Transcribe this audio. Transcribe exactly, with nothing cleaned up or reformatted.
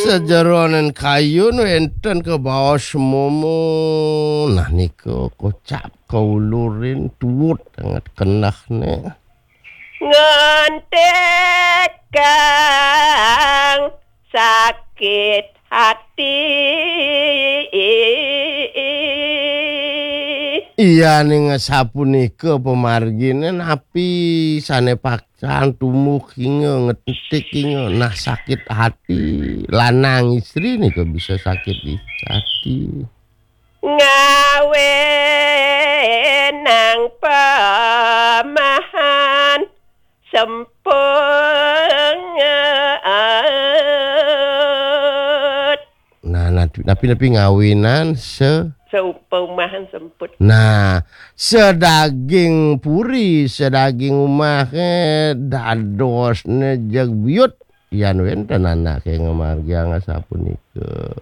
Sajeroning kayun wénten kabaos momo. Nah, nika kocap kaulurin tuwut anget kenehné. Ngentikang sakit hati. Iya, ning sapunika pamarginé napi sané paksan tumuh kinga ngentik kinga. Nah, sakit hati. Lanang istri nika bisa sakit hati. Ngawinang pemahan sempet. Nah, napi-napi ngawinan se Seumpamahan semput. Nah, sedaging puri, sedaging umah, eh, dadosné jeg biut. Yan wénten anaké ngamargiang sapunika.